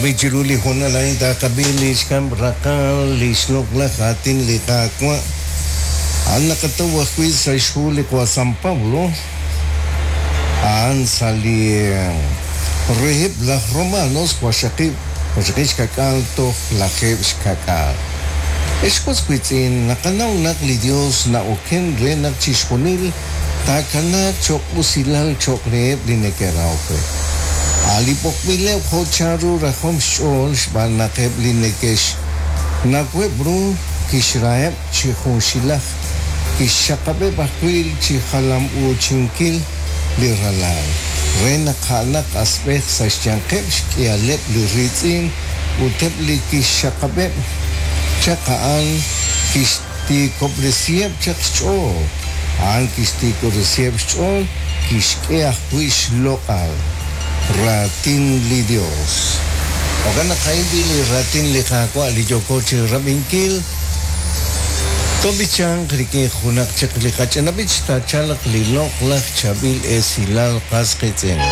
Ab'i chiru li hoonal a'in taaqab'i li xkab' raqal li xloq'laj aatin li Qaawa'. A'an naqataw ajwi' sa' xhu li Qawa' San Pablo, a'an sa' li reheb' laj Romanos waqxaqib' waqxaqib' xka'k'aal toj lajeeb' xka'k'aal. Ex was wiitz'in, naqanaw naq li Dios na'oken re naq chixjunil taakanaaq cho'q usilal cho'q reheb' li neke'rahok re. A' li b'oqb'ileb' jo' chanru rajom xch'ool xb'aan naq eb' li neke'xnaweb' ru kixraheb' chi junxilaj, kixxaqab'eb' ajwi' chi jalam-uuchinkil li Ralal, re naq a'anaq asb'ej sa' xyanqeb' xk'ihaleb' li riitz'in, ut eb' li kixxaqab'eb' chaq a'an kixtiikob'resiheb' chaq xch'ool, a'an kixtiikob'resiheb' xch'ool, kixk'e ajwi' xloq'al. Raatin li Dios. Jo'kan naq a'in b'i' li raatin li Qaawa' li yooko chirab'inkil, toob'ichanq rik'in junaq chik li qach'ina b'ich taachalq li loq'laj chaab'il esilal qas qiitz'in.